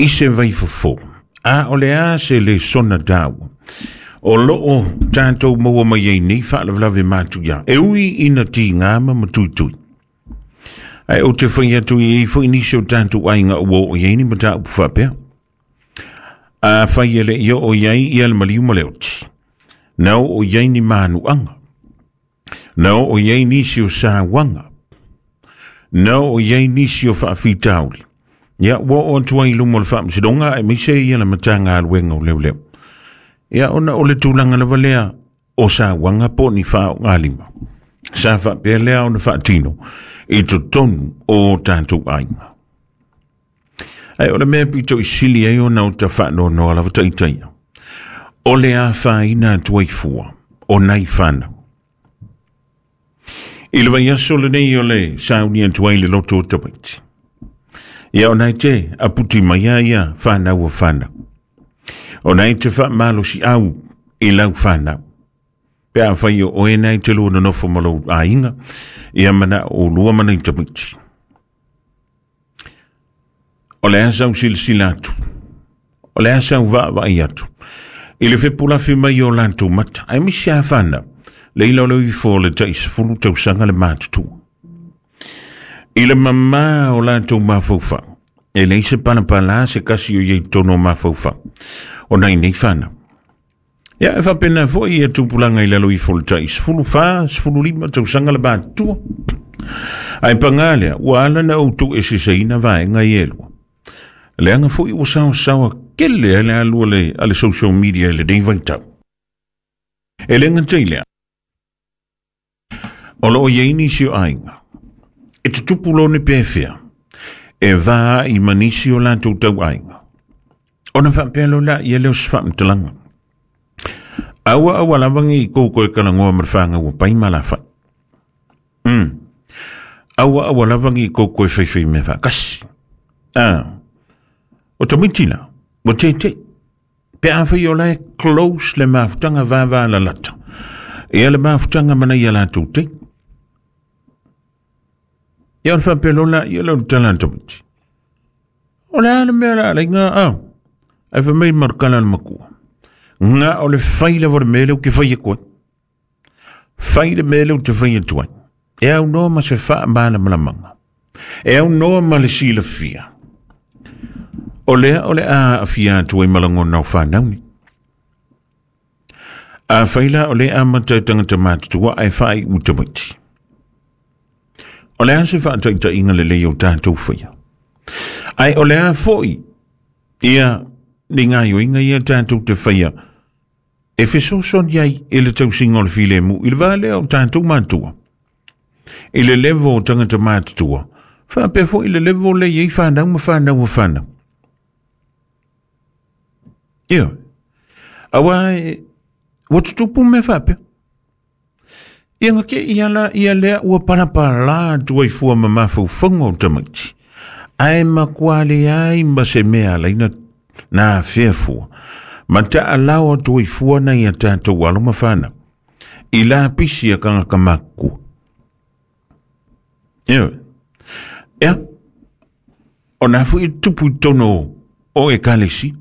I se vaifofo, a o le a se lesona taua o lo o tatou maua mai ai nei faalavelave matuia, e ui ina tiga ma matuitui. Ae ou te fai atu i ai foi nisi o tatou aiga ua oo i ai ni mataupu faapea. Afai e le i oo i ai ia le maliu ma le oti, na oo i ai ni manuaga, na oo i ai nisi o sauaga, na oo i ai nisi o faafitauli. Ia, ua oo atu ai i luma o le Faamasinoga aemaise ia le Matagaluega o Leoleo. Ia, ona o le tulaga lava lea o sauaga po o ni faaaogalima sa faapea lea ona faatino i totonu o tatou aiga. Ae o le mea pito i sili ai ona o ta faanoanoa lava taitaia, o le afaina atu ai fua o nai fanau. I le vaiaso lenei o le sauni atu ai le loto o tamaiti. Ia ona e te aputi mai a ia whanau o whanau. Ona e te whaamalosi au i lau whanau. Pe a whai o oe nei te lua nonofo ma lou aiga, ia mana o lua mana i tamaiti. O le a sau silasila atu, o le a sau vaavaai atu i le fepulafi mai o latou mata, aemaise a fanau, le ila o le ifo o le tai 10 tausaga le matutua. I le mamā o latou mafaufau, e leai se palapala se kasi o iai totonu o mafaufau o nai nei fanau. Ia, e faapena foi ia tupulaga i lalo ifo o le tai 14, 15 tausaga le matutua. Ae pagā lea, ua ala na ou tuueseseina vaega ia e lua. Leaga foi ua saosaoa kele ai le alu a le social media i lenei vaitau. E le gata i lea, o lo o i ai nisi o aiga e tutupu loa ni pefea e va ai ma nisi o latou tauaiga. Ona faapea loa lea lea o se faamatalaga. Aua aua lava nei i kou koe kalagoa ma le whāngau o pai ma la whai. Aua aua lava nei i kou koe whaiwhai mea whaakasi. Ah, o tamaiti la, ua tete. Pe a whai o lae close le mafutanga vava la lata. Ia le mafutanga mana ia latou te. Ia o le faapea loa la ia le tala a le tamaiti. O le a le mea la alai ngā au. Ai fai mai marukala le makua. Ngā o le fai lava o le mea lea ou te fai atu ai. Fai le mea lea ou te fai atu ai. E aunoa ma se faamalamalamaga. E aunoa ma le silafia. O lea o le a aafia atu ai ma lagona o fanau nei. Afai la o le amata e tagata matutua ae faaiu tamaiti. O le a se faataitaiga lelei o tatou faia? Ae o le a foi ia ni gaoioiga ia tatou te faia e fesoasoani ai i le tausiga o le filemu i le va lea o tatou matua. I le level o tagata matutua, faapea foi i le level lea e i ai fanau ma fanau a fanau. Ioe. Aua e, ua tutupu mea faapea. Ia na te ia la ia lea ua palapala atu ai fua ma mafaufauga o tamaiti. Ae matua leai ma se mea ala ai na afea fua. Ma taalao atu ai fua nai a tatou alo ma fanau. I lapisi a tagata matutua. Ioe. Ia, o nā foi e tutupu i totonu o ekalesia.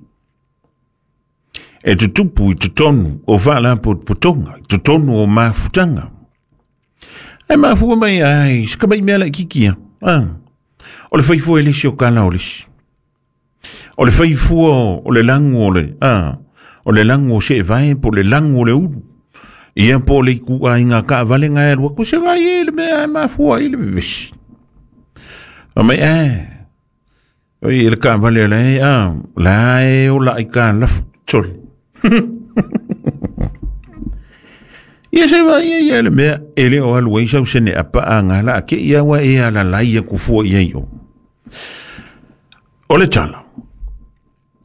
E tutupu i totonu o faalapotopotoga, i totonu o mafutaga. E mafua mai ai, se kamai mea laitiiti ia. Ah. O le faifua e le isi o kala o le isi. O le faifua o le lagu o le, ah, o le lagu o seevae po o le lagu o le ulu. Ia po o le ituaiga taavale na e alu atu, se vai e le mea e mafua ai le vevesi. Fai mai, eh, oi e le taavale a la e, ah, la e ola aitalafu, sole. Ia se vai e ia le mea e le o alu ai sau sene apa a ngā la ke ia wa e alalai aku fua i ai o. O le tala,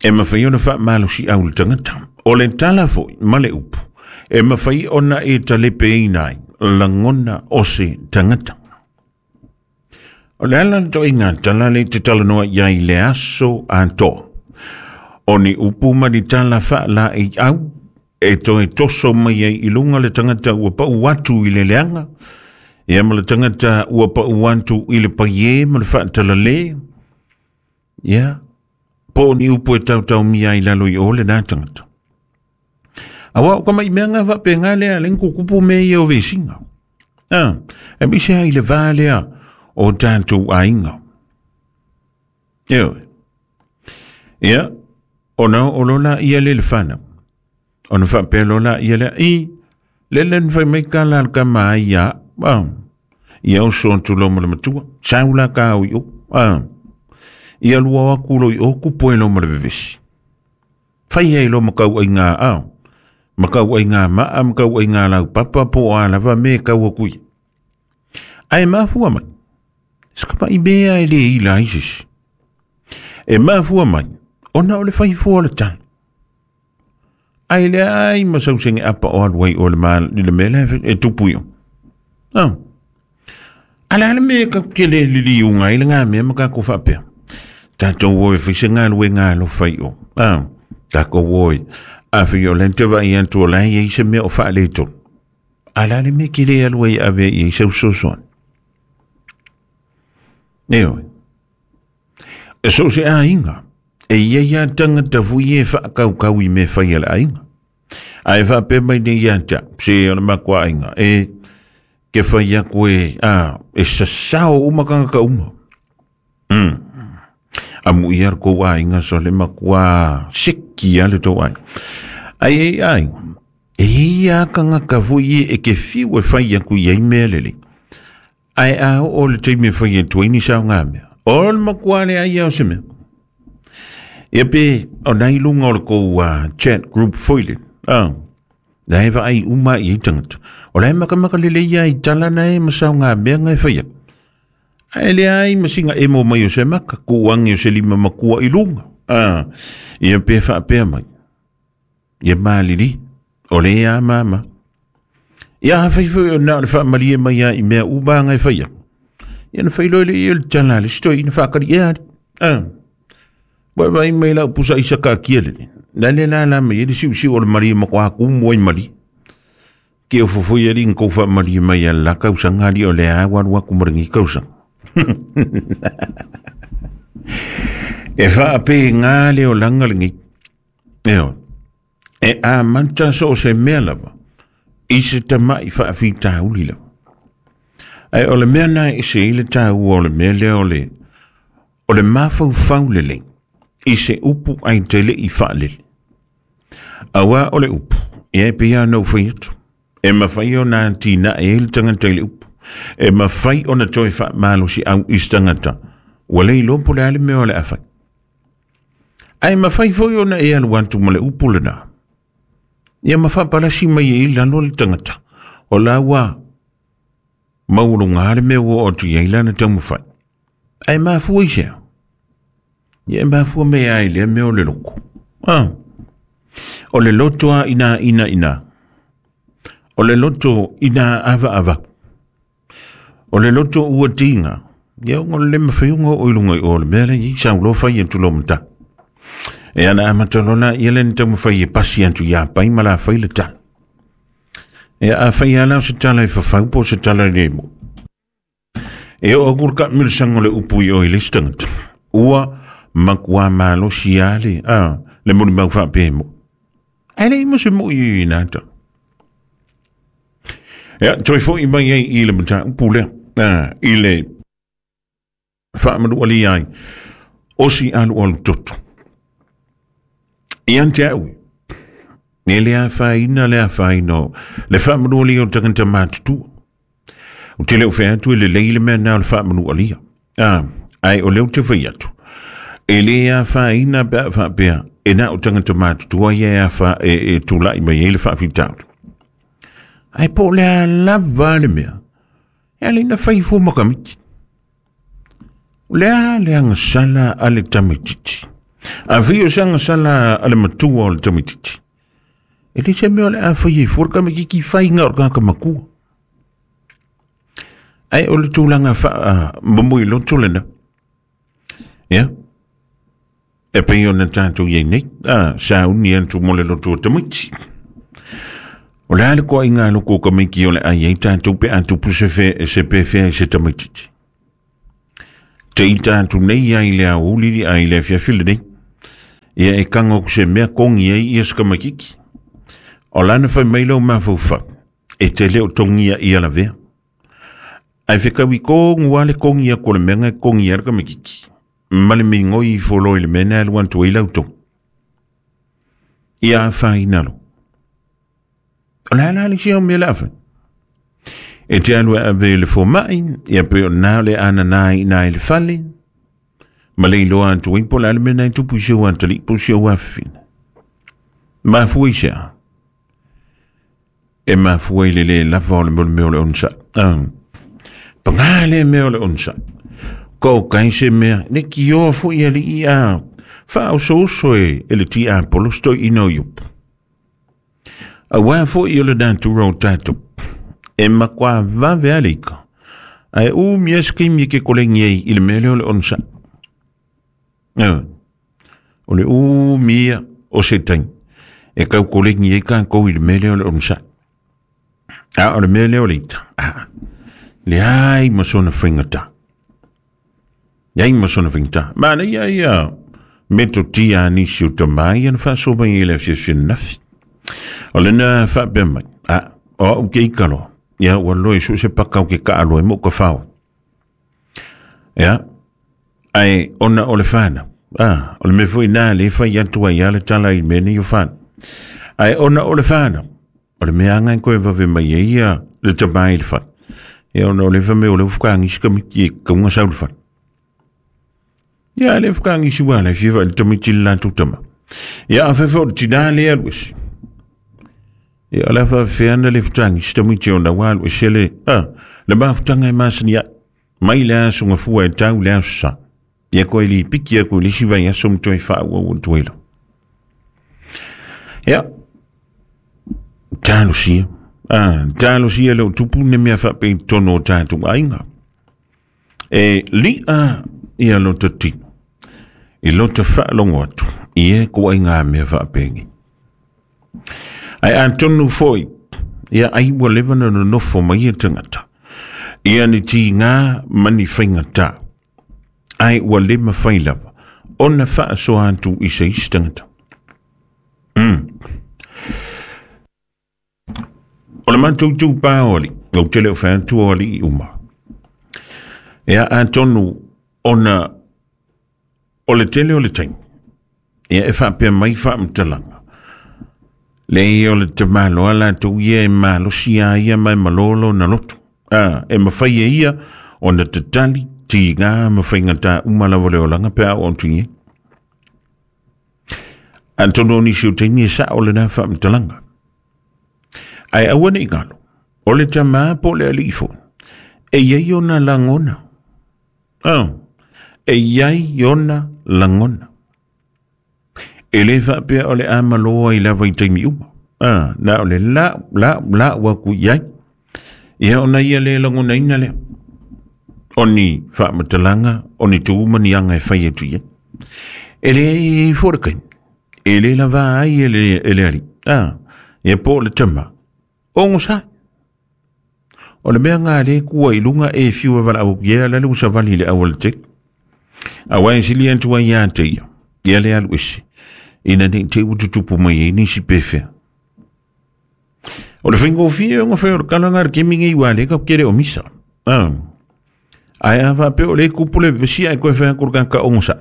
e mawhai ona whaamalosi au le tangata. O le tala foi ma le upu, e mawhai ona e talepeina ai lagona o se tangata. O le ala toʻiga tala le te talanoa i ai i le aso atoa. O ni upu ma ni tala faalaeiau e toe toso mai ai i luga le tagata ua pau atu i le leaga, ia ma le tagata ua pau atu i le paiē ma le faatalale, ia, Po o ni upu e tautaumia ai i lalo i o lenā tagata. Auā o ka maʻi mea faapegā lea le kukupu mea ia o vesiga. A, e mise ai le va lea o tatou aiga. Ioe. Ia, ona oo loa laia le le fanau. Ona faapea loa laia lea, i, le le na fai mai tala a le tama ai ia au. Ia oso atu loa ma le matua, sau la ka au i o. Ia lua o atu loa i o, kupu ai loa ma le vevesi. Fai ai loa ma tauaiga ao, ma tauaiga maa, ma tauaiga laupapa, po o a lava mea e tau atu i ai. Ae mafua mai, se kamaʻi mea e le ila ai se isi. E mafua mai, ona o le fai fua o le tala. Ae leai ma sau sege apa o alu ai o le, ma, le mea lea e tupu i o. Ah. A le a le mea e tatou te le liliuga ai lena mea ma tatou faapea? Tatou o e fai se galuega alofa i o. Ah, tatou o e. A fai o lea te vaai atu o la e i ai se mea o faaletonu. A le a le mea e te le alu ai e ave i ai sau fesoasoani? Ioe. E so o se aiga, e i ai lava tagata foi e faakaukau i mea fai a le aiga. Ae faapea mai nei ia te au, se o le matua aiga, e ke fai atu e, a, e sasao uma tagata uma. Amu ia le tou aiga so le matua seki lava le tou aiga. Ai e aiga, e i ai lava tagata foi e ke fiu e fai atu i ai mea lelei. Ae a oo le taimi e fai atu ai ni saoga mea, o le matua leai lava o se mea. Ia pe o nai lunga o le kou chat group foi le, la e vaai uma i ai tagata. O la e makamaka lelei lava i tala na e ma saoga mea na e fai atu. Ae leai ma sina emo mai o se maka, tuu ane o se lima matua i luga. Ia pe faapea mai. Ia malili, o le a mama. Ia afai foi o na o le faamalie mai a i mea uma anga e fai atu. Ia na fai loa le ia o le tala a le isi toeaina faakali ea ali. Ua vaai mai lau pusa aisa kaatia lele. Na le la la mai ai le siusiu o le malie matua tumu ai malie. Ke ofo foi alii na tou faamalie mai a le la tausaga alii o lea ua alu atu ma lenei tausaga. E faapena le olaga lenei. Ioe. E amata so o se mea lava i se tamaʻi faafitauli lava. Ae o le mea na e ese ai le taua o le mea lea o le o le mafaufau lelei i se upu ae te le i faalele. Auā o le upu, ia e pei lava ona ou fai atu, e mafai ona atinae ai le tagata i le upu. E mafai ona toe faamalosiau i se tagata ua le iloa po o le a le mea o le a fai. Ae mafai foi ona e alu atu ma le upu lena. Ia ma faapalasi mai ai i lalo le tagata. O la ua maualuga le mea ua oo atu i ai lana taumafai. Ae mafua i sea? Ia e mafua mai lava i lea mea o le loto. Ah. O le loto a ina ina ina. O le loto ina ava ava. O le loto ua tiga, ia ona o le le mafai ona oo i luga i o le mea lea i sau loa fai atu loa ma tala. E ana amata loa la ia le na taumafai e pasi atu ia Pai ma la fai le tala. Ia a fai lava la o se tala e fafau po o se tala e le mo. E oo atu le taamilosaga o le upu i o i le isi tagata. Ua matua malosi lava le, a, le molimau faapea e mo. Ae le i mo se moi i nā tala. Ia, toe foi mai ai i le mataupu lea, i le faamanualia ai o si alualu toto. Ia te au, e le afaina le afaina o le faamanualia o tagata matutua. Ou te le o fai atu e lelei le mea na o le faamanualia. Ae o lea ou te fai atu, e le afaina pe a faapea e na o tagata matutua ia e afa e tulai mai ai le faafitauli. Ae po o le a lava le mea, e ala i na fai fua ma tamaiti. O le a le agasala a le tamaitiiti? A fai o se agasala a le matua o le tamaitiiti, e le se mea o le a fai ai fua le tamaitiiti i faiga o le tagata matua. Ae o le tulaga faamomoe loto lena. Ia, e pei ona tatou i ai nei, a, sauni atu mo le loto o tamaiti. O le a le koaiga loko o tamaiti o le ai ai tatou pe a tupu se, fe, se pefea i se tamaititi. Te i tatou nei ai le aoauli ai le afiafi lenei. Ia e kago ku se mea kogi ai ia se tamaititi. O lana fai mai lou mafaufau, e te le o togia ia lavea. Ae fetaui tonu lava le togi atu o le mea na e togi ai le tamaititi ma le migoi ifo loa i le mea na e alu atu ai lau togi. Ia afaina loa. O le a la le isi au mea o le a fai? E te alu e ave i le fomai, ia pe o lena o le a nana i ina i le fale, ma le iloa atu ai po o le a le mea na e tupu i si ou atalii po o si ou afafine. Mafua i se a? E mafua i le lē lava o le mea o le onosai. Ah. Pagā lea mea o le onosai. Ko kai se mea, ne kioa foi alii a faaosooso e, e le tiapolo se toeaina o Iopo. Auā foi o le natura o tatou, e matua vave lava le ika, ae umi lava se taimi e te koleni ai i le mea lea o le onosai. O le umi ia o se taimi e tau koleni ai tatou i le mea lea o le onosai. A o le mea lea o le ita, a, leai ma sona faigata. Leai ma sona faigata. Manaia ia metotia a nisi o tama ia na faasoa mai ai i le afiafi ananafi. O lena faapea mai, a, o au ke ika loa, ia ua loe so se paka o ke kaaloa ai mo ka fao. Ia, ae ona o le whanau, a, o le mea foi nā le whai atu ai a le tala i mea nei o whanau. Ae ona o le whanau, o le mea anga e koe vave mai ai ia le tama i le whai. Ia ona o le wha mea o le whakaangisi kamiti e kaunga sau le whai. Ia le whakaangisi wā le whiwa le tamiti le lātou tama. Ia a whewha o le tinā le alu ese. Ia o le whawhea ana le whakaangisi tamiti o na wā alu ese le, a, le mafutanga e masani ai. Mai le aso gafua e tau le aso sa. Ia koe li piki aku i le isi vaiaso ma toe faaauau atu ai lava. Ia, talosia, ah, talosia le o tupu ne mea faapea i totonu o tatou aiga. E li'a ia lota tino, i lota faalogo atu i e koaiga mea faapenei. Ae atonu foi, ia ai ua leva na nonofo mai ia tagata, ia ni tigā ma ni faigata, ae ua le mafai lava ona faasoa atu i se isi tagata. O le matou itupa o alii, ou te le o fai atu o alii uma. Ia atonu ona o le tele o le taimi, ia e faapea mai faamatalaga, leai o le tamaloa latou ia e malosi a ia ma e malo lona loto. A, e mafai e ia ona tatali tiga ma faigata uma lava o le olaga pe a oo atu i ai. Atonu o nisi o taimi e sao lena faamatalaga. Ae aua ne i galo, o le tamā po o le alii foi, e i ai ona lagona. Oh, e i ai ona lagona. E le faapea o le a malo ai lava i taimi uma. Ah, na o le lau, lau, lau aku i ai. Ia ona ia le lagonaina lea. O ni faamatalaga, o ni tu ma ni aga e fai atu i ai. E le i fo le kaimi. E le lava ai e le, e le alii. Ah, ia po o le tama. Ogosa. O le mea ngā le kua i lunga e fiu e wala au ia la le usavali le awal te. Aua e sili atu ai ia te ia. Ia le alu ese. Ina nei te ututupu mai e nisi pewhea. O le faigofie ona fai o le kalaga a le kemi nei ua le ka kele o misa. Ah. Ae a faapea o le kupu le vesi ae koe fai atu le kaka ogosa.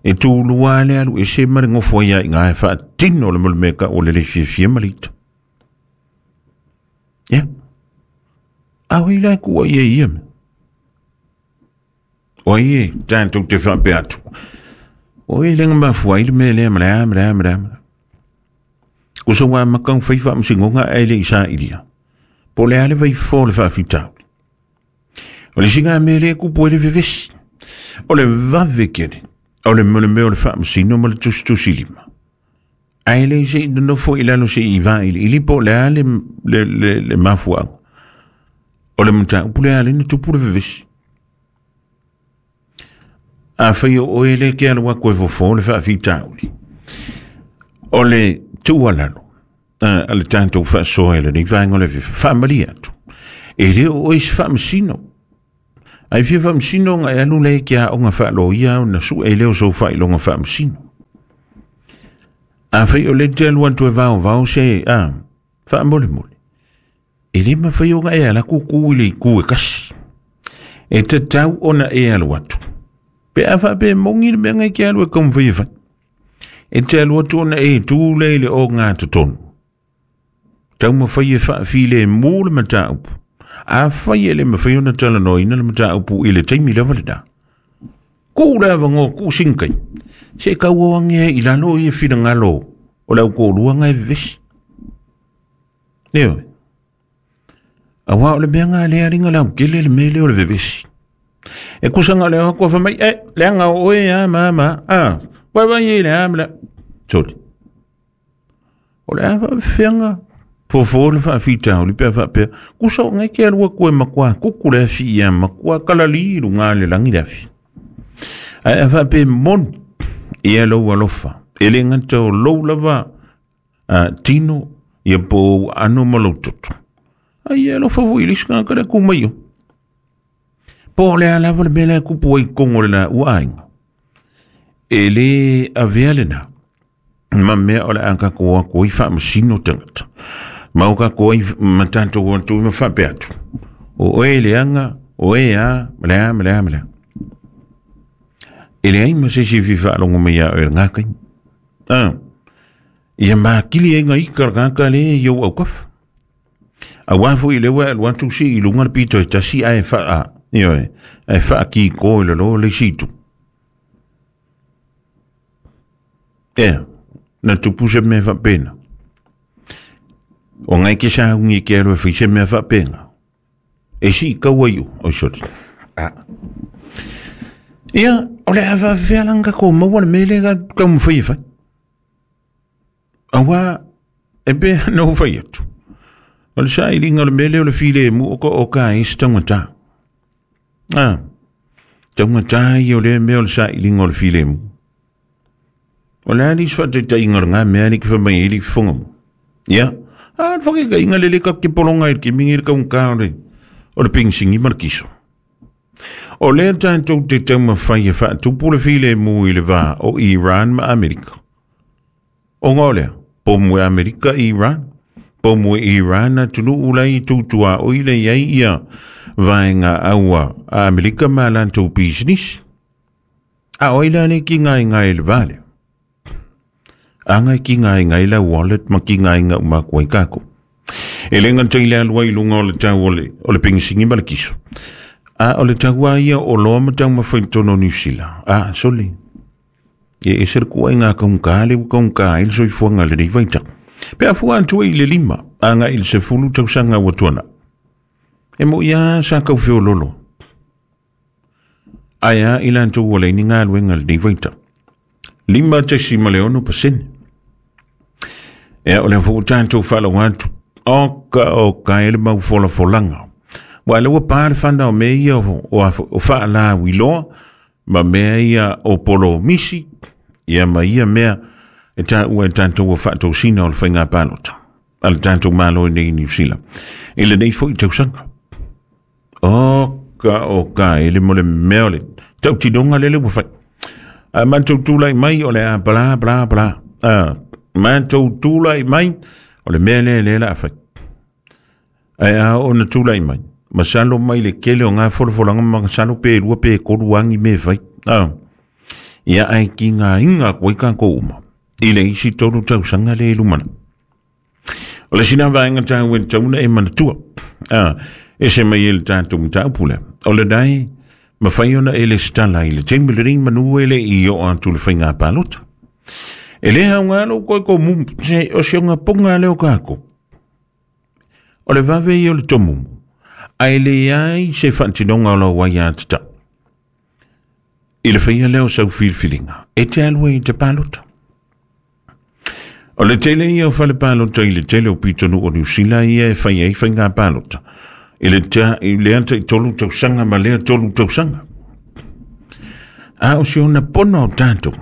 E tūlua le alu ese ma le gofo ai i ngā e faatino le mea ka o le le fiafia ma le ita. Ia. A oi la kua ia ia me. O ai e tātou te faapea atu. O e lenga mafua ai le mea lea ma le a ma le a ma le a. Ko sa wā makau whai whaamasingonga e le i sa ilia. Po le a le vai fo le whaafitauli. O le singa mea lea kupu e le vevesi. O le vave kere. O le mea o le whaamasino ma le tusitusi lima. Ae le se i nonofo i lalo se i vailiili po o le a le, le, le, le mafuaaga. O le mataupu lea le na tupu le vevesi. Afai o oe le ke alu atu e fofo le faafitauli. O le tuualalo a le tatou faasoa i lenei vaega o le faamalie atu. E le o oe se faamasino. Ae fia faamasino ona e alu lea i ke aoga faaloia ona sue lea o sou faailoga faamasino. Afai o le te alu atu e vaovao se a faamolemole, e le mafai ona e ala kuku i le itu e kasi. E tatau ona e alu atu. Pe a faapea e moni le mea na e te alu e taumafai e fai. E te alu atu ona e tu lea i le ogatotonu. Taumafai e faafilemu le mataupu. Afai e le mafai ona talanoaina le mataupu i le taimi lava lena, tuu le avanoa, tuu sina taimi, se i tau ane ai i lalo ia finagalo o le autolua na e vevesi. Ioe. Aua o le mea na lea aliga lautele le mea lea o le vevesi. E kusa na o le atu fai mai, e, leaga o oe a ma ma, a, vai vai e le a ma le, soli. O le a faafefeaga fofo le faafitauli pe a faapea, kusa o ngai ke alu atu e matua kuku le afi ia matua kalali i luga le lagi le afi. Ae a faapea e moni ia lou alofa, e le gata o lou lava tino ia po o ano ma lou toto, a ia alofa foi i le isi tagata lea ku mai o. Po o le a lava le mea lea e kupu ai i totonu o le laua aiga, e le avea lena ma mea o le a tatou o atu ai faamasino tagata, ma o tatou ai ma tatou o atu ai ma faapea atu, o oe e leaga, o oe a, ma le a, ma le a, ma le a. E leai ma se isi e fia faalogo mai ia oe i lena taimi. Ia makili ai nga ika le tagata lea i ou autafa. Aua foi lea ua e alu atu sii i luga le pito e tasi ae faa, ioe, ae faakiko i lalo le isi itu. Ea, na tupu se mea faapena. O ngai ke sauni e ke alu e fai se mea faapena. E sii kaua i o, oi sorry. Ah. Ia, o le a faafefea la ona tatou maua le mea lea tatou taumafai e fai. Aua, e pei ona ou fai atu, o le sailiga o le mea lea o le filemu o ka o ka ai se taugata. Ah, taugata ia o lea mea o le sailiga o le filemu. O le a le isi faataitaiga o lena mea alii ke fai mai ai le fofoga mo. Ia, a le faataitaiga le le tatou te pologa ai i le taimi lenei le taugata o le penisini ma le kiso. O lea tatou te taumafai e faatupu le filemu i le va o Iran ma Amerika. Ona o lea, pomu e Amerika i Iran, pomu e Iran atunuu la i tutuaoi le i ai ia vaega aua a Amerika ma latou pisinisi. A o ai la le ki ngaengae i le va lea? A ngai ki ngaengae la wallet ma ki ngaenga uma atu ai kākou. E le gata i le alu ai i luga o le tau o le, o le penisini ma le kiso. A o le tau a ia o loa ma taumafai i totonu o Niu Sila. A, sole. E ese le kuaiga kaugata lea ua kaugata ai le soifuaga i lenei vaitau. Pe a fua atu ai i le 5 agai i le 10 tausaga ua tuanai, e moi lava sa tau feololo. Ae a i latou ua leai ni galuega i lenei vaitau. 5.6%. Ea, o lea foi ua tatou faalogo atu, oka oka e le mau folafolaga. Ua lea ua pa le fana o mea ia o faalauiloa ma mea ia o polomisi, ia ma ia mea e taua e tatou o faatosina o le faiga palota a le tatou Malo i nei i Niu Sila i lenei foi tausaga. Oka oka e le mo le mea o le tautinoga lele ua fai. A matou tulai mai o le a bla bla bla. A matou tulai mai o le mea lea lea la a fai. Ae a oo ina tulai mai, masalo mai le tele o ngā folafolaga ma masalo pe lua pe tolu a ni mea e fai. A, ia ae tigaina atu ai tatou uma i le isi 3 tausaga lea i lumanai. O le isi lea vaega taua e tatau ona e manatua, a, ese mai ai le tatou mataupu lea, o lena e mafai ona e lesitala i le taimi lenei manu e le i oo atu le faiga palota. E le aoga lou toe tomumu, se o si ona poga lea o tatou. O le vave ia o le tomumu, ae leai se faatinoga o lau aiatatau. I le faia lea o sau filifiliga, e te alu ai i te palota. O le tele ia o fale palota i le tele o pitonuu o Niu Sila ia e fai ai faiga palota. I le, ta, i lea tai 3 tausaga ma lea 3 tausaga. A o si ona pono o tatou.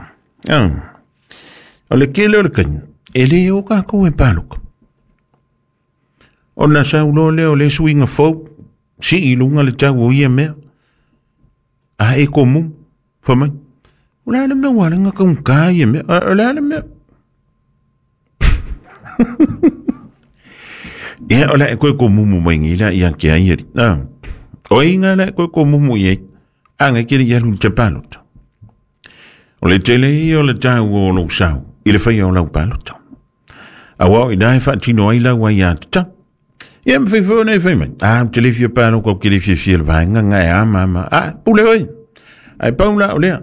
Ah, o le tele o le taimi, e le o kākou e paloka. Ona sau loa lea o le suiga fou, sii i luga le tau o ia mea. A e komu, fai mai, o le a le mea ua ala ai ona taugata ia mea? O le a le mea? Ia, o le a e koe komumu mai nei la ia ke ai ari. Ah. O inga le koe komumu i ai. Anga ke le alu i te palota. O le tele ia o le tāua o lou sao i le whaia o lau palota. Aua o ina e whaatino ai lau ai a tata. Ia me whai nei whai mai. Ah, te le fia pālo kau ke le fia fia le vaenga ngai a mama. Ah, pule hoi. Ai pau la o lea.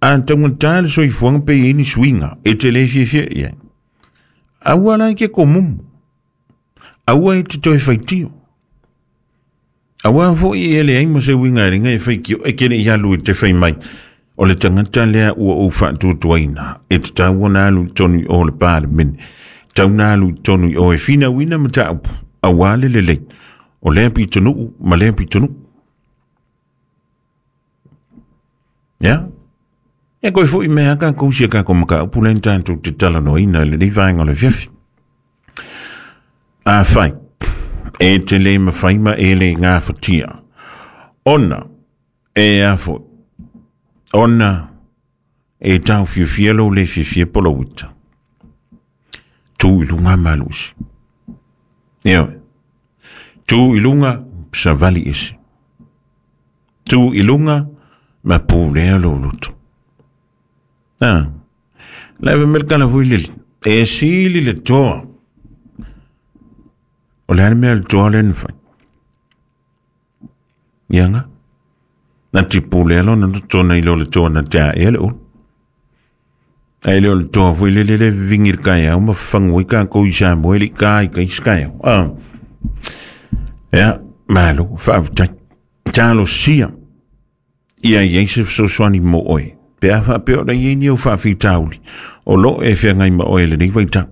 A taunga tā le soifuanga pe i ni suinga. E te le fia fia ia. Aua lai ke komumu. Aua e te toe whaitio. Aua foi e le ai ma se uiga e ringa e whai ki o e kere i alu i te whai mai. O le tangata lea ua ou whaatuatuaina. E te tau ona alu i tonu i o le pālemene. Tau na alu i tonu i o e whina wina ma tāupu. Aua le lelei. O lea pitonuu ma lea pitonuu. Ia? E koe foi mea ka kou sia ka ko maka upu len tātou te talanoaina i lenei vaenga o le afiafi. A whai, e te le mawhai ma e le ngāwhatia. Ona, e a foi, ona e tau fiafia lo le fiafia polowita. Tū i lunga malu isi. Ia, tū i lunga savali isi. Tū i lunga ma pulea lou loto. Ah, leva me le kala foi lele. E sili le toa. O le a le mea le toa le na fai. Ia nga. Na ti pulea lona loto na i lo le toa na te a ea le ulu. Ai le o le toa foi lele le vingi le kai au ma fangu i ka kou i Samoa le ka i ka i skai au. Ah. Ia, malo, whaafetai. Talosia ia i ai se fesoasoani mo oe. Pe a faapea o la i ai ni au faafitauli, o lo o e feagai ma oe i lenei vaitau.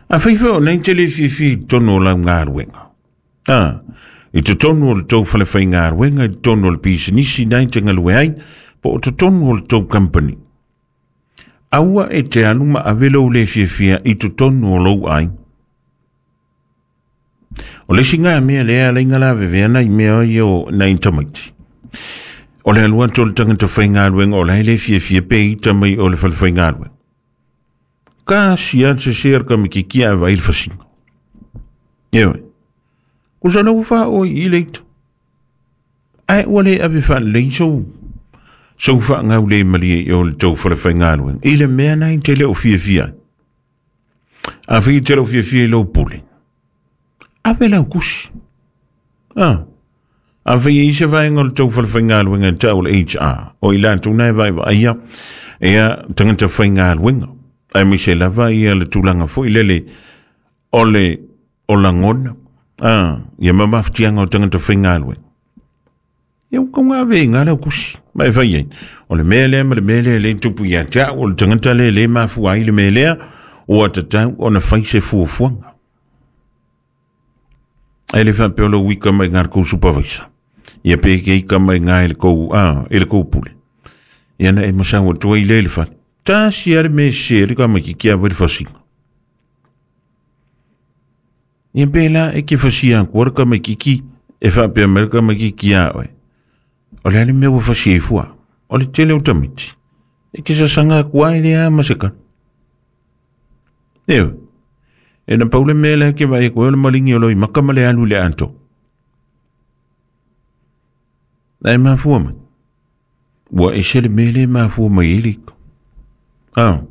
A fai foi o nei te le fiafia i totonu o lau galuega. A, i totonu o le tou fale faigaluega, i totonu o le pisinisi na i te galue ai, po o totonu o le tou company. Aua e te alu ma ave lou le fiafia i totonu o lou aiga. O le isi ngā mea lea ala i ngā lavevea nai mea ia o nai tamaiti. O le alu atu o le tangata faigaluega o la e le fiafia pe ita mai o le fale faigaluega. Ka sia se se ka mikiki a vai le fasiga. Ewe. Ko sa ua fa o i le ita. Ai ua le ave faalelei sou sou faagau le malie i o le tou fale faigaluega. I le mea nai te le o fiafia ai. A fai te lou fiafia i lou pule. Ave lau kusi. Ah. A fai e ise vaenga o le tau whalewhaingaluenga e tau le HR. O i latou na e vaevaeia ia tangata faigaluega. Aemaise lava ia le tulaga foi lele o le o lagona. Ah, ia mamafutiaga o tangata faigaluega. Ia ua kau ave i ngā lau kusi. Ma e fai ai. O le mea lea ma le mea lea le tupu ia te au, o le tangata lea le mafua ai le mea lea, ua tatau ona fai se fuafuaga. Ai le faapea o lou ika mai ngā le kou supervisor. Ia pe ke ika mai ngā i le kou, ah, i le kou pule. Ia na e masau atu ai le le fale. Tasi a le me se le ka mai ki kia le fasinga. Ia pēlā e ke fasia aku le tamaititi e faapea mai le tamaititi iā oe, O le a le mea ua fasia ai fua? O le tele o tamaiti. E ke sasaga aku ai lea ma se kanu. Ioe. E na pau le mea lea ke vaai aku ai o le maligi o loi maka ma le alu i le atoa. Ae mafua mai. Ua ese le mea lea e mafua mai ai le ika. Ah,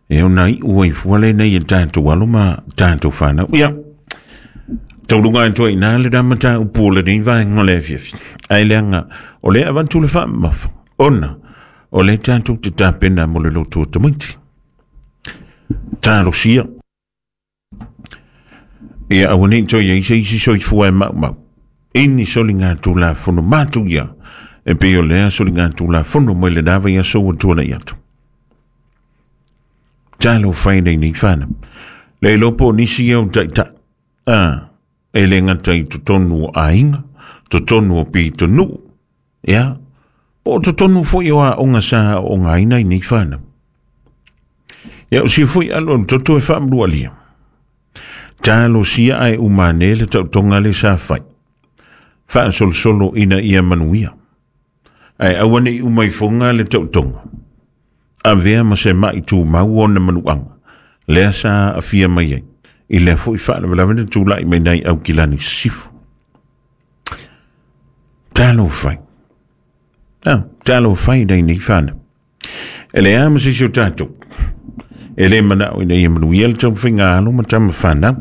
e ona iu ai fua lenei e tātou alo ma tātou whānau. Ia, taulunga e toa ina le rama tā upu o lenei vaenga o le afiafi. Ai leanga, o le avantu le whaamafa. Ona, o le tātou te tāpena mo le loto o tamaiti. Tālosia. Ia aua nei toe i ai se isi soifua e maumau. I ni soligatulafono matou ia, e pei o lea soligatulafono mai lena vaiaso ua tuanai atu. Talofa e nei nei whanau. Le iloa po o nisi ia o taitai. A, e le gata i totonu o aiga, totonu o pitonuu, ia, po o totonu foi o aoga sa aoogaina i nei whanau. Ia o sia foi alo o le toto e whaamalualia. Talosia ae umane le taotoga le sa fai. Faasolosolo ina ia manuia. Ae aua ne i uma ifoga le taotoga. Avea ma se ma'i tumau ona manuaga. Lea sa aafia mai ai i lea fo'i faalavelave na tula'i mai nai Aukilani Sisifo. Talofa e. Talofa e nei fanau. E leai lava ma se isi o tatou e le manao ina ia manuia le taumafaiga a alo ma tama fanau.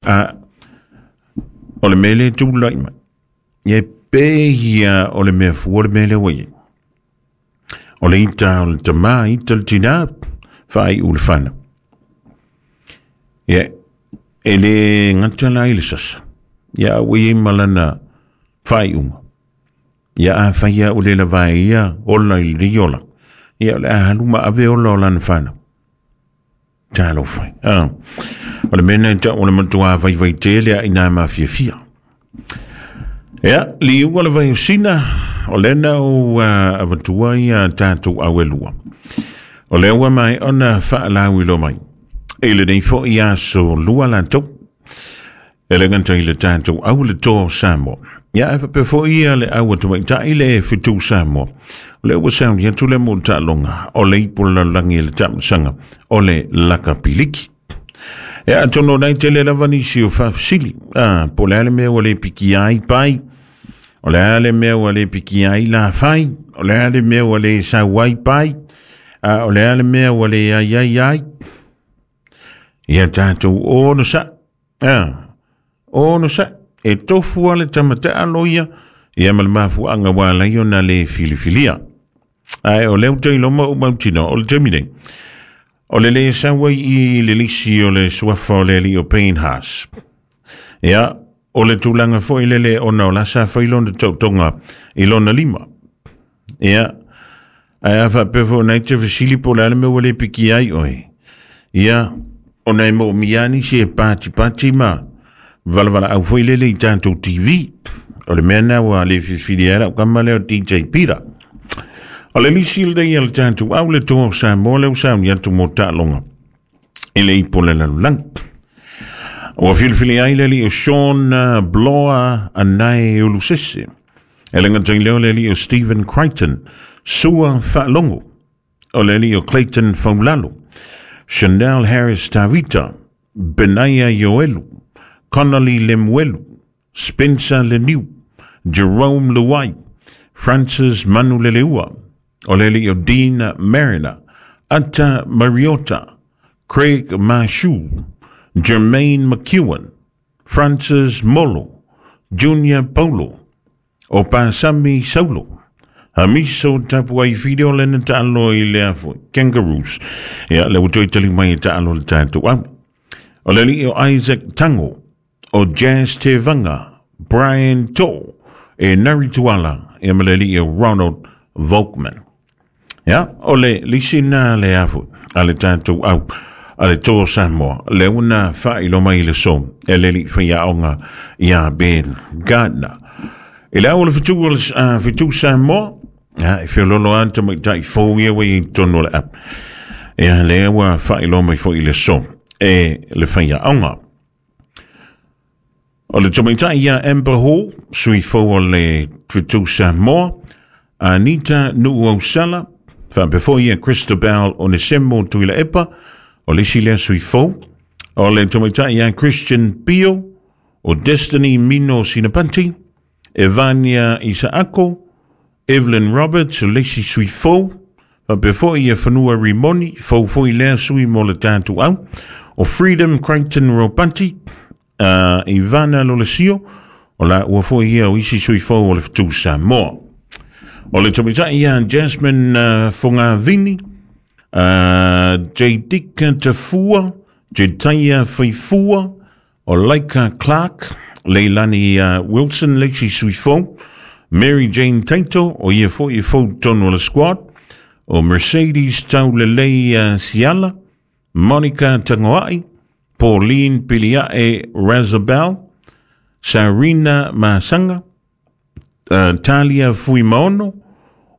A o le mea lea e tulai mai, e pei ia o le mea fua le mea lea ua i ai. O le ita o le tamā, ita le tinā, faaiu le fanau. Ia, e le gata la i le sasa, ia a ua i ai ma lana faaiuga. Ia afai lava ua le lava e ia ola i lenei ola, ia o le a alu ma ave ola o lana fanau. Talofa e. O le mea lena e tau o le matua vaivai tele a ina mafiafia. Ia, liuga le vai o Sina, o lea na ou avatua ia tatou au e lua. O lea ua maea ona faalauiloa mai. I lenei foi aso lua latou. E le gata i le tatou au le Toa o Samoa. Ia, ae faapea foi ia le au a tamaitai le Fetu Samoa. O lea ua sauni atu le mo taaloga o le ipu o le lalolagi i le taamilosaga o le lakapiliki. Ia, atonu o nai tele lava nisi o faafesili. Po o le a le mea ua le pikia ai pai, o le a le mea ua le pikia ai lafai, o le a le mea ua le sau ai pai, o le a le mea ua le ai ai ai. Ia tatou onosai. Onosai. E tofu lava le tama taalo ia, ia ma le mafuaaga ua ala ai ona le filifilia. Ae o lea ou te iloa ma ou mautinoa, o le taimi nei, o le le sau ai i le lisi o le suafa o le alii o Payne Haas. Ia, o le tulaga foi lele ona o la sa fai lona taotoga i lona lima. Ia, ae a faapea foi ona e te fesili po o le a le mea ua le pikia ai oe. Ia, ona e moomia lava nisi e patipati ma valavalaau foi lele i tatou TV. O le mea lena ua le filifili ai lau kama lea o DJ Peter. O le lisi lenei a le tatou au le Toa o Samoa lea ua sauni atu mo taaloga i le ipu o le lalolagi. Ua filifili ai le alii o Shawn Bloa Anae Ulusese. E le gata i lea o le alii o Stephen Crichton, Sua Faalogo, o le alii o Clayton Faulalo, Chanel Harris Tavita, Benaia Ioelu, Connolly Lemuelu, Spencer Leniu, Jerome Luai, Francis Manuleleua, o le alii o Dean Mariner, Ata Mariota, Craig Marshu, Jermaine McEwen, Francis Molo, Junior Paulo, o Pasami Saulo, Hamiso Tapuai Whiro le na taalo i le afo Kangaroos. Ia, le ua toe tali mai e taalo le tatou au. O le alii o Isaac Tango, o Jazz Te Vanga, Brian To, e Nari Tuala, ia ma le alii o Ronald Volkman. Ia, o le lisi na le afu a le tatou au a le Toa Samoa, lea ua na faailoa mai i le aso e le alii faiaoga ia Ben Gardner. I le au o le fetu o le fetu Samoa, ia, e feoloolo lava le tamaitai fou ia ua i ai i totonu o le app. Ia, lea ua faailoa mai foi i le aso e le faiaoga. O le tamaitai ia Amber Hall, sui fou o le fetu Samoa, Anita Nuuausala, faapea foi ia Christabel Onesemo Tuilaepa, o le isi lea sui fou. O le tamaitai ia Christian Pio, o Destiny Mino Sinapanti, Evania Isaako, Evelyn Roberts, o le isi sui fou, faapea foi ia Fanua Rimoni, fou foi lea sui mo le tatou au, o Freedom Crichton Ropati, Ivana Lolesio, o la ua foi ia o isi sui fou o le Fetu Samoa. O le tamaitai ia Jasmine Fogavini, Jadika Tafua, Jetaia Faifua, o Laika Clark, Leilani Wilson le isi sui fou, Mary Jane Taito, o ia foi e fou tonu o le squad, o Mercedes Taulelei Siala, Monica Tangoa'i, Pauline Pilia'e Razabel, Sarina Masanga, Talia Fuimaono,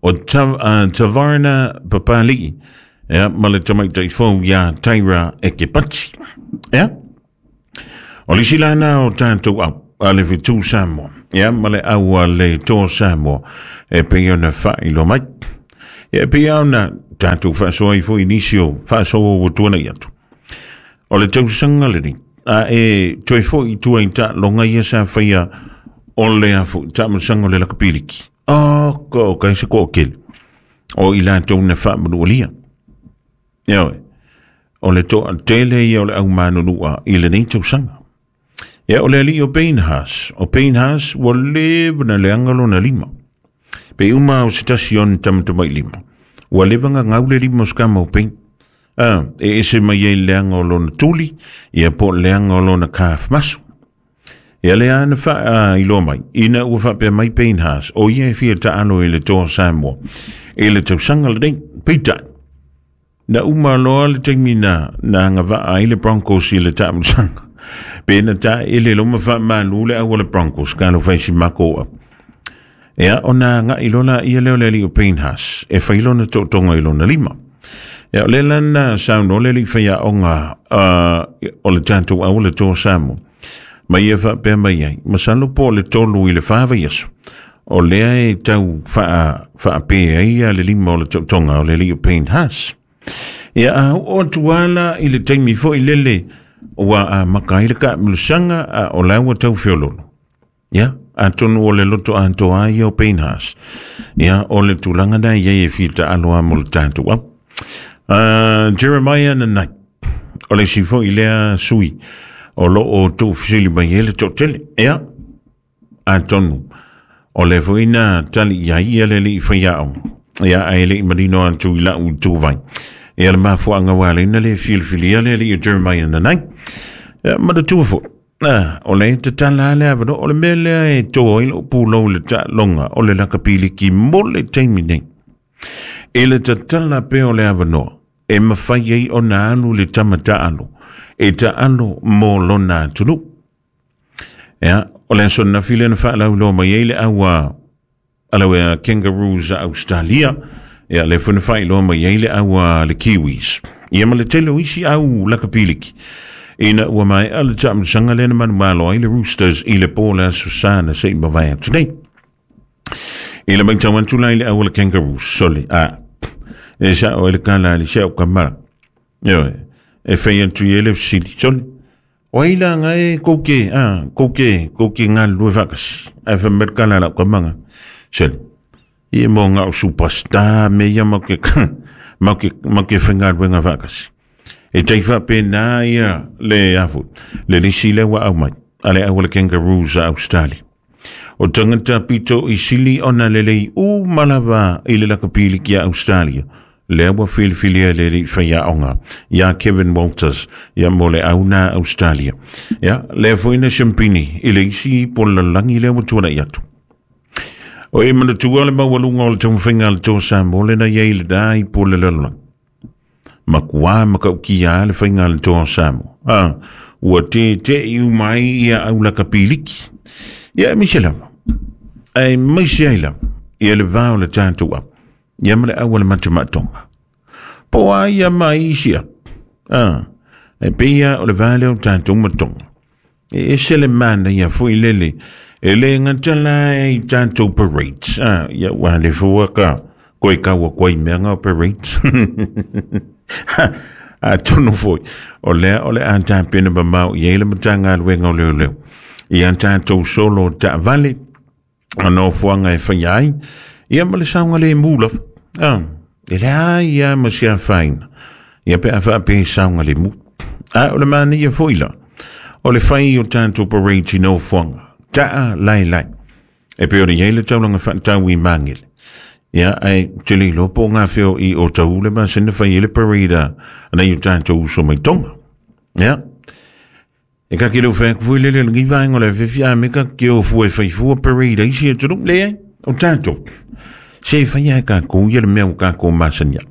o Tavarna Papali'i, ia, ma le tamaitai fou ia Tyra Ekepati. Ia, o le isi lana o tatou au, a le Fetu Samoa, ia, ma le au a le Toa Samoa, e pei ona faailoa mai. Ia e pei lava ona tatou faasoa ai foi i nisi o faasoa ua tuanai atu. O le tausaga lenei, a e toe foi i tua i taaloga ia sa faia o le a foi taamilosaga o le lakapiliki. O ko kai se toatele o i latou na faamanualia. Ioe, o le toatele ia o le aumanunua i lenei tausaga. Ia, o le alii o Payne Haas. O Payne Haas ua leva na leaga lona lima. Pe uma o se tasi ona tamatamailima. Ua leva gagau le lima o se kama o Payne. Ah, e ese mai ai le leaga o lona tuli, ia po o le leaga o lona calf muscle. Ia lea na faailoa mai, ina ua faapea mai Payne Haas, o ia e fia taalo i le Toa Samoa i le tausaga lenei. Peitai, na uma loa le taimi na agavaa ai le Broncos i le taamilosaga. Pe na taele loa ma faamalu le au a le Broncos, ka alo fai si mako au. Ia, ona agai loa laia lea o le alii o Payne Haas e fai lona tootoga i lona lima. Ia, o lea la na saunoa le alii faiaoga o le tatou au o le Toa Samoa, ma ia faapea mai ai, masalo po o le 3 i le 4 vaiaso, o lea e tau faape ai ia le lima o le tootoga o le alii o Payne Haas. Ia, a oo atu lava la i le taimi foi lele ua amata ai le taamilosaga, a o la ua tau feololo. Ia, atonu o le loto atoa ai ia o Payne Haas. Ia, o le tulaga na i ai e fia taalo lava mo le tatou au. Jeremiah Nanai, o le isi foi lea sui o lo o tuufesili mai ai le toatele. Ia, atonu o le foi na tali i ai ia le alii faiaoga. Ia, ae le i manino atu i lau ituvai. Ia, le mafuaaga ua ala ai na le filifilia le alii o Jeremiah Nanai. Ia, manatua foi. Ah, o le tatala lava le avanoa, o le mea lea e to ai lou pulou i le taaloga o le lakapiliki mo le taimi nei. I le tatala pea o le avanoa, e mafai ai ona alu le tama taalo, e taalo mo lona atunuu. Ia, o le aso ananafi lea na faalauiloa mai ai le au a a le Kangaroos a Australia, ia lea foi na faailoa mai ai le au a le Kiwis. Ia ma le tele o isi au lakapiliki. Ina ua maea le taamilosaga lea na manumalo ai le Roosters i le po o le Aso Sa na se i mavae atu nei. I le matau atu la i le au a le Kangaroos, sole, a, e sao ai le kala a le si au kamara. Ioe, e fai atu i ai le fesili, sole, O ai la nga e kou ke, a, kou ke, kou ke galulue faatasi, ae fai mai le kala a lau tamaga, sole, ia mo nga o superstar me ia mau ke, mau ke, mau ke faigaluega faatasi. E tai faapena ia le a foi, le lisi lea ua aumai, a le au a le Kangaroos a Australia. O tagata pito i sili ona lelei uma lava i le lakapiliki a Australia, lea ua filifilia e le alii faiaoga ia Kevin Walters ia mo le au na Australia. Ia, lea foi na siampini i le isi polalagi lea ua tuanai atu. O e manatua le maualuga o le taumafaiga a le Toa Samoa lena i ai lena i polelalolagi. Makuā matautia lava le faiga a le Toa o Samoa. A, ua tete'i uma ai ia au lakapiliki. Ia aemaise lava, aemaise ai lava ia le va o le tatou au, ia ma le au a le matamaatoga. Po o a ia mai isi au. A, e pei lava o le va lea o tatou ma Tonga. E ese le manaia foi lele, e le gata la i tatou parades. A, ia ua le fua ka koe kaua koe i mea nga o parades. Atonu foi, o lea o le a tapena mamao i ai le Matagaluega o Leoleo i a tatou solo taavale, o nofoaga e faia ai, ia ma le saogalemu lava. A, e leai lava ma se afaina, ia pe a faapea e saogalemu. A o le manaia foi la, o le fai o tatou parades i nofoaga, taa laelae, e pei ona i ai le taulaga faatau i Magele. Ia, ae ou te le iloa po o gafea o i o Tahu le masina fai ai le parade a nai o tatou uso mai Tonga. Ia, E kake leo whai aku lele lengi vaenga o le awhiwhi a me ka ke o fua e whai fua parade ai si atunuu. Leai, o tātou. Se e whai ai kākou ia le mea o kākou masani ai.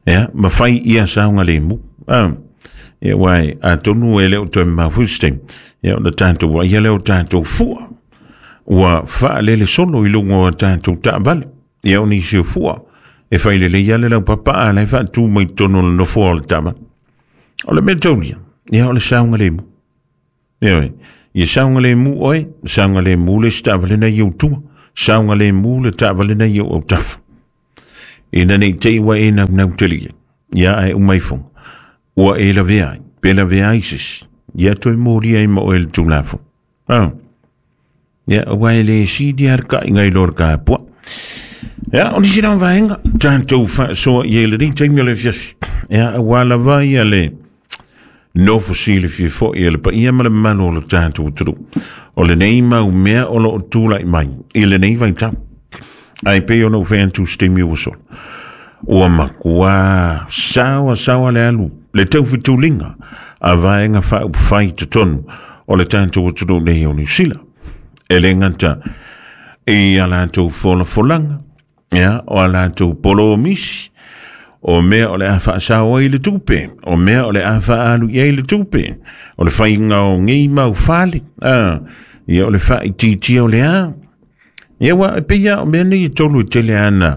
Ia, ma whai ia saonga le mu. Ah, ia wai, atonu e leo toe mawhus te. Ia, o na tātou wa ia leo tātou fua. Ua whaalele solo i lunga o tātou taavale. Ia, o nisi o fua. E whai lele ia le lau papa a lai whaatu mai tonu le nofoa o le taavale. O le mea taulia, ia o le saogalemu. Ioe, ia saogalemu oe, saogalemu le isi taavale na i ou tua, saogalemu le taavale na i ou autafa. Ina nei te i ua e naunau tele i ai, ia ae uma ifoga, ua e lavea ai, pe lavea ai se isi, ia toe molia ai ma oe le Tulafono. Ah. Ia, aua e le sili lava le kaiga i lo le kapua. Ia, o nisi na o vaega, tatou faasoa i ai i lenei taimi o le afiafi. Ia, aua lava ia le nofo silafia foi e le paia ma le mamalu o le tatou atunuu. O lenei mau mea o lo o tulai mai i lenei vaitau. Ae pei ona ou fai atu i se taimi ua sola. Ua matua saoa saoa le alu le taufetuliga a vaega faaupufai i totonu o le tatou atunuu nei o Niu Sila. E le gata i a latou folafolaga, ia, o a latou polomisi, o mea o le a faasao ai le tupe, o mea o le a faaalu i ai le tupe, o le faiga o nei mau fale, a, ia o le faaitiitia o le a. Ia ua e pei lava o mea nei e tolu e tele ana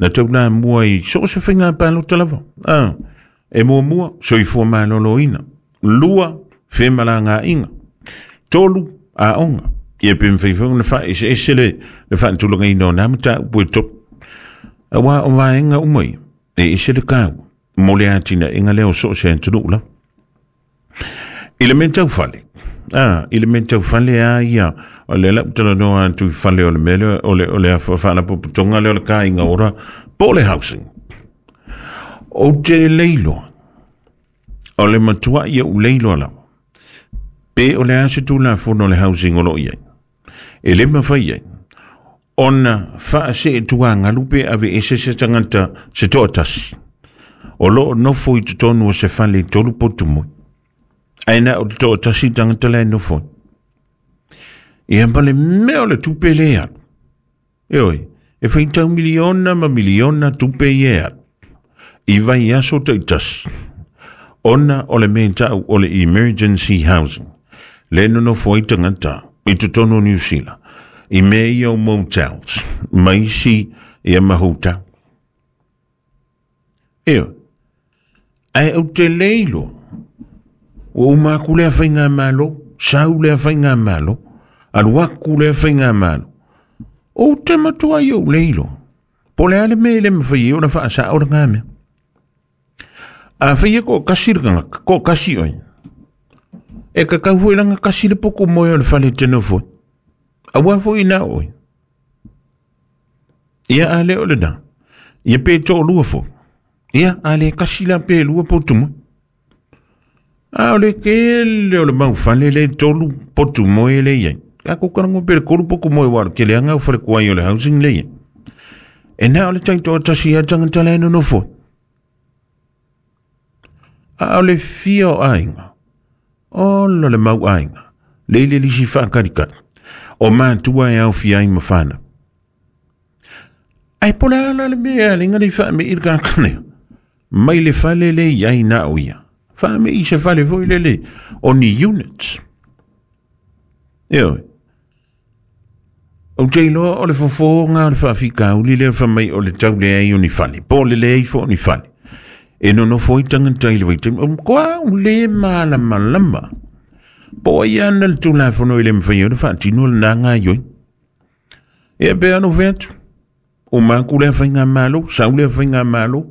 na taulamua i so o se faiga palota lava. A, e muamua, soifua maloloina. Lua, femalagaaiga. Tolu, aoga. Ia pe mafai foi ona faaeseese le, le faatulagaina o nā mataupu e tolu. Aua o vaega uma ia, e ese le taua mo le atinaega lea o so o se atunuu lava. I le mea tau fale, a, i le mea tau fale a ia, o lea la ou talanoa atu i fale o le mea lea, o le, o le faalapotopotoga lea o le Kāinga Ora, po o le housing. Ou te le iloa, o le matuai ou le iloa lava, pe o le a se Tulafono o le housing o lo o i ai. E le mafai ai ona faaseetuagalu pe aveese se tagata se toatasi o lo o nofo i totonu o se fale i tolu potu moe. Ae na o le toatasi tagata la e nofo ai. Ia ma le mea o le tupe le alu. Ioe, e faitau miliona ma miliona tupe ia e alu i vaiaso taitasi ona o le mea e ta'u o le emergency housing le nonofo ai tagata i totonu o Niu Sila i mea ia o motels ma isi ia ma hotel. Ioe, ae ou te le iloa ua uma atu lea faigamalo, sau lea faigamalo, alu atu lea faigamalo. Ou te matuai ou le iloa. Po o le a le mea e le mafai ai ona faasao lena mea. Afai e toatasi le tagata, toatasi oe, e tatau foi lana tasi le poto moe o le fale e te nofo ai. Aua foi na oe. Ia a le o lena. Ia pe toalua foi. Ia a le tasi la pe lua potu moe. A o le tele o le mau fale le tolu potu moe le i ai. A ko kana pe le tolu potu moe wa ke le anga o fale kuai o le housing le i ai. E na o le taitoatasi a tagata la e nonofo. A o le fia o aiga, ola le mau aiga, le ile lisi whaakalikali, o mātua e aofia ai ma whānau. Ai po le ala le mea le ngari whaame i le kākane. Mai le fale le i ai nā o ia. Whaame i se fale foi le le o ni units. Ioe. Ou te iloa o le fofoga o le faafitauli lea fai mai o le tau leai o ni fale, po o le leai foi o ni fale. E nonofo ai tagata i le vaitaimi, o matua ou le malamalama. Po o ai ana le Tulafono e le mafai ai ona faatino lena gaoioiga. Ia pe ana ou fai atu, uma atu lea faigamalo, sau lea faigamalo,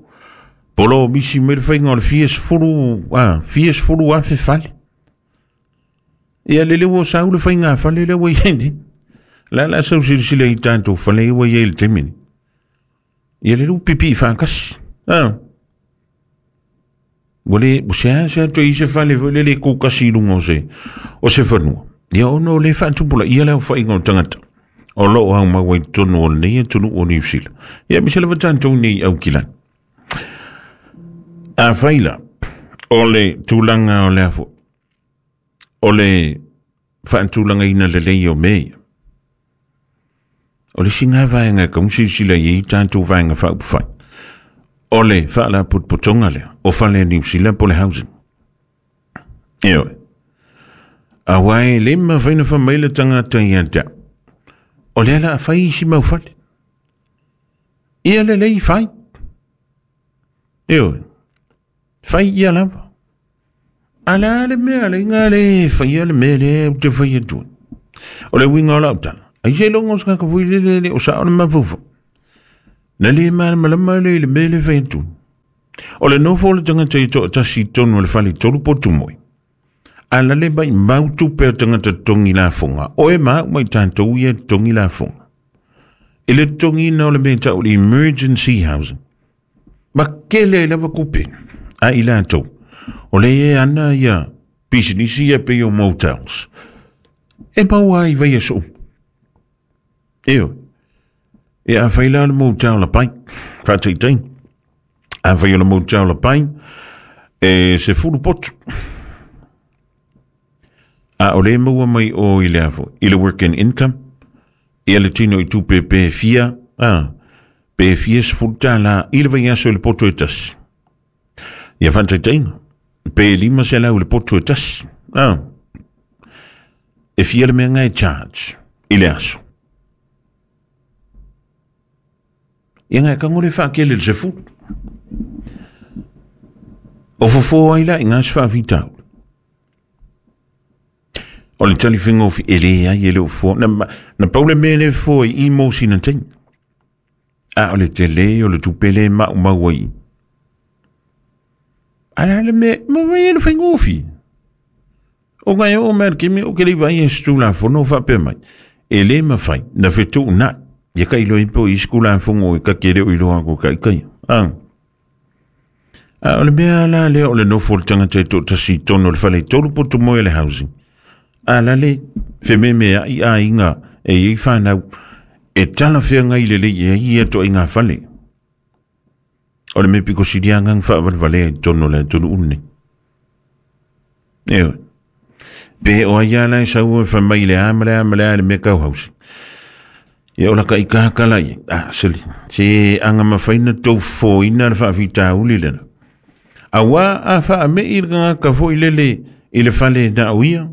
polomisi mai le faiga o le fia sefulu, a, fia sefulu afe fale. Ia lele ua sau le faiga fale lea ua i ai nei. La la sau silasila i tatou fale ua i ai i le taimi nei. Ia lele ua pipii faatasi. Ah. Ua le, ua seasea toe i se fale foi lele e kukasi i luga o se, o se fanua. Ia ona o le faatupulaia le aofaiga o tagata o lo o aumau ai i totonu o lenei atunuu o Niu Sila. Ia aemaise lava tatou nei i Aukilani. Afai la, o le tulaga o le a foi, o le faatulagaina lelei o mea ia, o le isi lena vaega e tatau ona silasila i ai tatou vaega faaupufai, o le faalapotopotoga lea o fale a Niu Sila po o le housing. Ioe. Aua e le mafai ona fai mai le tagata ia te au, o lea o le a fai isi mau fale. Ia lelei fai. Ioe. Fai ia lava. A le a le mea le inga le faia le mea lea ou te fai atu ai. O le uiga o lau tala, ai seiloga o se tagata foi lele le o sao le mafaufau. Na le malamalama le i le mea le fai atu. O le nofo o le tagata i toatasi i totonu o le fale tolu potu moe. A la le mai mau tupe o tagata totogi lafoga, oe ma au ma i tatou ia e totogi lafoga. I le totogiina o le mea e tau o le emergency housing. Ma kele ai lava kupe a i latou. O le e ana ia pisinisi ia pei o motels. E maua ai vaiaso uma. Ioe. E afai la o le motel lapai, faataitaiga. Afai o le motel lapai, e 10 potu. A o le maua mai o i le afo, i le work and income, ia le tino i tupe pe fia, a, pe fia $10 i le vaiaso i le poto e tasi. Ia faataitaiga, pe 500 i le poto e tasi. A, e fia le mea nga e charge i le aso. Ia nga e kango le whaakele le 10. O fofo ai la i ngā se whaawhitau. O le tali whengofi e le ai e le o fo. Na, na paule me le fo i mo sina teina. A o le te le o le tupele ma umau ai. A le me, ma mai e le whengofi. O ngai o mea kimi o ke le vai e stula fono whapea mai. E le mawhai, na whetu na. Ia ka ilo ipo i skula fongo i ka kere o iloa ko kai kai. A. A o le mea la lea o le nofo o le tangata e toatasi i totonu o le fale i tolu poto moe le housing. A la le whememe a i a inga e i whanau e tala whenga i le lei e ia to i ngā fale. O le me piko siria ngang whaawalewale i tonu le tonu une. Eo. Pe o ai ala e sau e whamai le a ma le a ma le a le mea kau housing. Ia o la ka i kakala i. A, sili. Se anga mawhaina tau fōina le whaawhitauli lena. A wā a wha me i ngā ka fo i lele i le fale na o ia.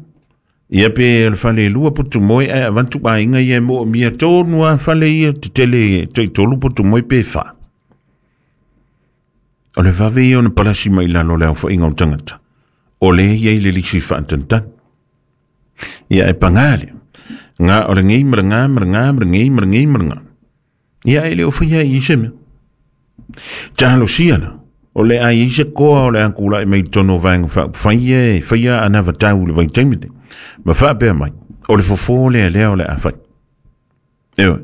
Ia pe le fale lua putu moe ai avantu a inga ia mo mia tonu a fale ia te tele te tolu putu moe pe wha. O le vave ia o na palasi mai lalo le au whainga o tangata. O le ia i le lisi whaantantan. Ia e pangale. Ngā o le ngei mara ngā mara ngā mara ngei mara ngei mara ngā. Ia e le o whaia i se mea. Tālo siana. O le ai i se koa o le angula i mei tono vaenga wha whaia e whaia ana watau le vaitaimine. Ma whaapea mai. O le fofo le lea o le a whai. Ewa.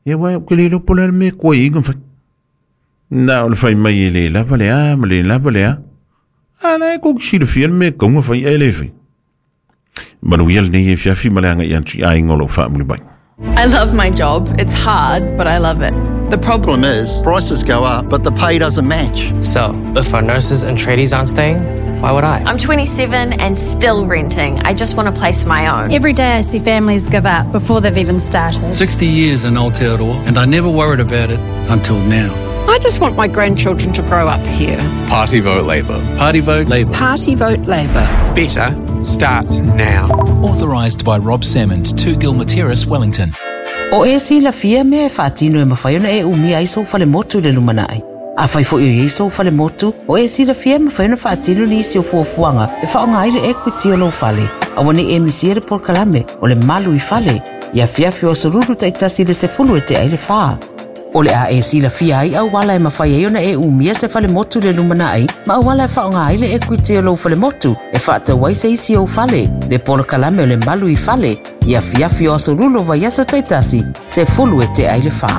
Ia wai o ke le lopo le me koe inga whai. Nā o le whai mai e le lava le a ma le lava le a. A la e koki sila fia le me kaunga whai e le whai. Manuia lenei e fiafi ma le anga i antu i a inga o lou whaamuli mai. I love my job. It's hard, but I love it. The problem Problem is, prices go up, but the pay doesn't match. So, if our nurses and tradies aren't staying, why would I? I'm 27 and still renting. I just want a place of my own. Every day I see families give up before they've even started. 60 years in Aotearoa, and I never worried about it until now. I just want my grandchildren to grow up here. Party vote Labour. Party vote Labour. Party vote Labour. Better starts now. Authorised by Rob Salmond, 2 Gilmer Terrace, Wellington. O e silafia mea e faatino e mafai ona e umia ai sou falemotu i le lumanai. Afai foi o i ai sou falemotu, o e silafia e mafai ona faatino nisi o fuafuaga e faaaoga ai le equity o lou fale. Aua ne i e misia le polokalame o le malu i fale, i afiafi o aso lulu taitasi i le 10 e tea i le 4. O le a e silafia ai auala e mafai ai ona e umia se falemotu i le lumanai, ma auala e faaaoga ai le equity o lou falemotu e faatau ai se isi ou fale, le polokalame o le malu i fale, i afiafi o aso lulu o vaiaso taitasi, 10 e tea i le 4.